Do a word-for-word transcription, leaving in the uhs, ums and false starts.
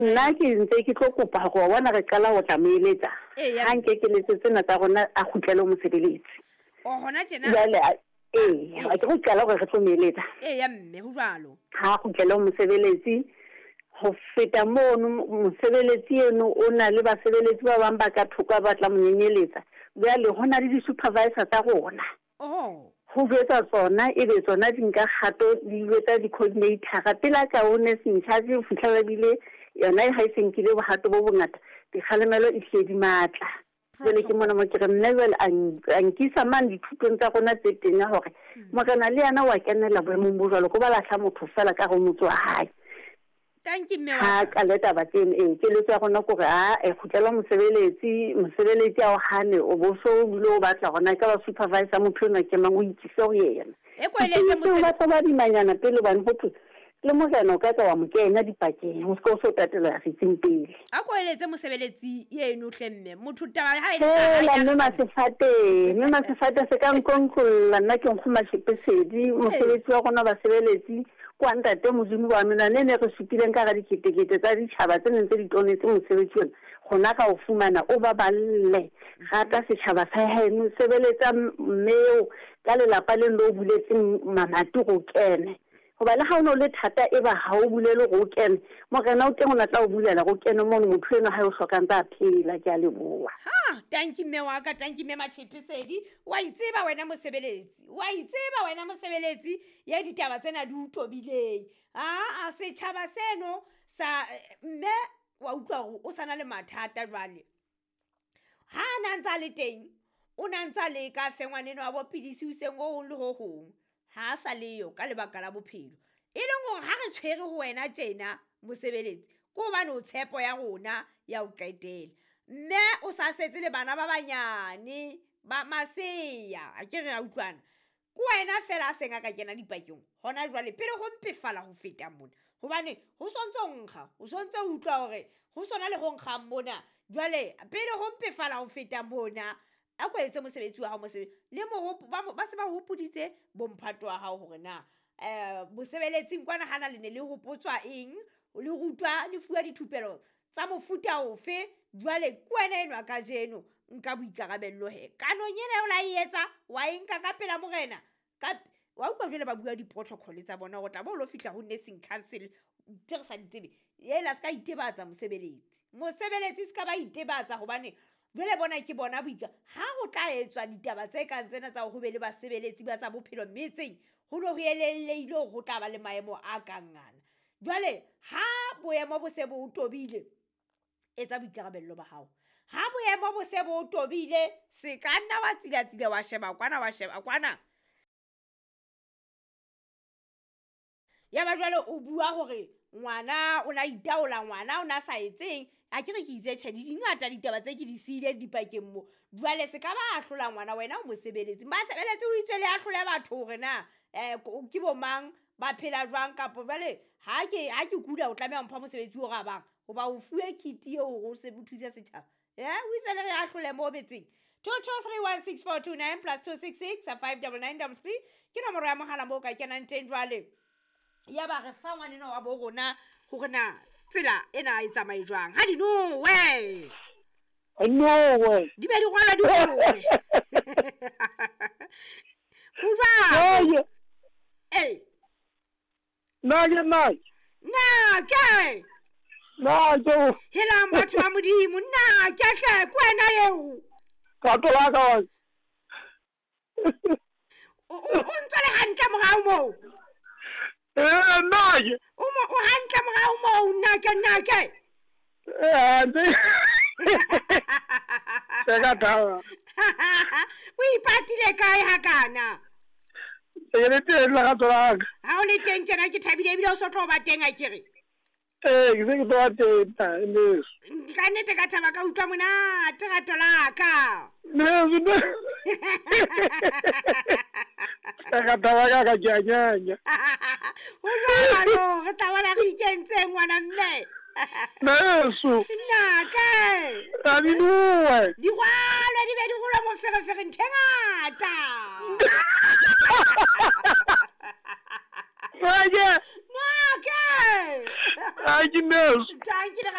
Nna ke ntse ke tlo kopa gore wa bona re qala ho tla mo eletsa. Eya. Ha nke keletso tsena tsa rona a kgutlele ho mosebeletsi. O hona tjena. Jwale a- ee, ha ke go qala gore re tlo mo eletsa. Eya mme ho jwalo. Ha a kgutlele ho mosebeletsi. Ho feta mono mosebeletsi eno o na le basebeletsi ba bang ba ka thoko ba tla mo nyenyeletsa. Jwale ho na le di-supervisor tsa rona. Oh. Ho jwetsa tsona ebe tsona di nka kgato di jwetsa di-coordinator-a pele a ka o nursing charge ho fihlela bile yona ha e se nkile bohato bo bongata dikgalemelo e hlile di matla. Jwale ke mona mo ke re nna jwale a n- a nkisa mane dithutong tsa rona tse teng ya hore morena le yena wa kenela boemong bo jwalo ko ba lahla motho fela ka ho motse wa hae. Thank you mme Ha wa ka. qale taba tseno ee keletso ya rona ke hore a kgutlela mosebeletsi mosebeletsi a o hane o bo so o bile o batla hore na e ka ba supervisor motho enwa ke mang o ikise ho yena. E ko eletse Tseo mosebe- ba tla ba dimanyana pele hobane ho thwe le morena o ka tla wa mo kenya dipakeng o se ka o so tatela setsing pele. A ko eletse mosebeletsi eno hle mme. Motho taba ha e le tsa hae, Hela ya mme re sa- Masefate, mme Masefate se ka nkonkolola nna ke nkgo Mashepesedi mosebetsi wa rona basebeletsi kwa ntate Modimo wa menwana e ne re supileng ka hara diketekete tsa ditjhaba tse neng tse di tonetse mosebetsi ona rona ka o fumana o baballe rata setjhaba sa heno sebeletsa mme eo ka lelapa le le o buletseng mamati go kene hoba le ha o no le thata e ba ha o bulele go kene morena o teng o na tla o bulela go kene mono motho eno ha o hlokang tsa phela ke a leboha. Ha, thank you mme wa ka, thank you mme Mashepesedi. Wa itseba wena mosebeletsi. Wa itseba wena mosebeletsi ya ditaba tsena di o tobileng. Ah, a setjhaba seno sa mme wa utlwa hore o sana le mathata jwale. Ha a na ntsa le teng, o na ntsa leka fe ngwaneno wa bo pidisi hoseng ho hong le ho hong. Ha a sa leyo ka lebaka la bophelo. E leng hore ha re tshwere ho wena tjena mosebeletsi, ke hobane o tshepo ya rona ya ho qetela. Mme o sa setse le bana ba banyane ba masea, a ke re a utlwana. Ke wena fela a seng a ka kena dipakeng hona jwale pele ho mpefala ho feta mona. Hobane ho sontso nkga, o sontso o utlwa hore ho sona le ho nkgang mona. Jwale pele ho mpefala ho feta mona, a ko etse mosebetsi wa hao mosebetsi. Le mohopo, ba mo-, ba se ba hopoditse bomphato wa hao hore na, eh, mosebeletsing kwana hana le ne le hopotswa eng, le rutwa, le fuwa dithupelo tsa mofuta ofe. Jwale ke wena enwa kajeno nka boikarabello he. Kanong ena eo la e etsa, wa e nka ka pela morena. Ka, wa utlwa jwale ba bua di-protocol tsa bona hore tla bo lo fihla ho nursing council tse re sa di tsebe. Ela se ka itebatsa mosebeletsi. Mosebeletsi se ka ba itebatsa hobane jwale bona ke bona boika. Ha ho tla etswa ditaba tse kang tsena tsa hore ho be le basebeletsi ba tsa bophelo metseng, ho no ho elellehile hore ho tla ba le maemo a kang ana. Jwale ha boemo bo se bo tobile, etsa boikarabello ba hao. Ha boemo bo se bo tobile, se ka nna wa tsilatsila wa sheba kwana, wa sheba kwana. Ya ba jwale o bua hore ngwana o na itaola, ngwana o na sa etseng. A ke re ke itse tjhe, di dingata ditaba tse ke di siileng dipakeng mo. Jwale se ka ba ahlola ngwana, wena o mosebeletsi. Basebeletsi o itswe le ahlole batho hore na, eh, ko-, ke bo mang, ba phela jwang, kapo jwale ha ke, ha ke kula o tlameha ho mpha mosebetsi o ra bang, hoba o fuwe kit eo hore o se o thuse setjhaba. Eh, o itswe le re ahlole mo metseng. Two two three one six four two nine plus two six six five double nine double three ke nomoro ya mohala moo o ka kenang teng jwale. Ya ba re fa ngwaneno wa bo rona hore na tsela ena e tsamaye jwang. Ha di nowe. Nowe. Di be di rwala di rwale. Ho jwang? Nowe. Ee. Na ke nna. Na ke. Na ke. Helang batho ba Modimo, na ke hle ke wena eo. Ka tola ka wa. O, o, o ntse le hantle morao moo. Eh, nna ke. O mo, o hantle morao moo, nna ke, nna ke. Eh, hantle. Ke ka thaba. O ipatile kae hakana? Ke le teng le rato la ka. Ha o le teng tjena ke thabile ebile o so tlo ba teng a ke re. Ee, ke se ke tlo ba teng, ta, leso. Ka nnete ka thaba ka utlwa monate rato la ka. Leso, ne. Ka ka thaba ka ka ke a nyanya. Ho jwalo, re tla bona re ikentseng ngwana mme. Leso. Nna ke. Ra di nowe. Di rwalwe, di be di rolwe moferefere ntho e ngata. Nna ke. Nna ke. Ai, ke neso. Thank you.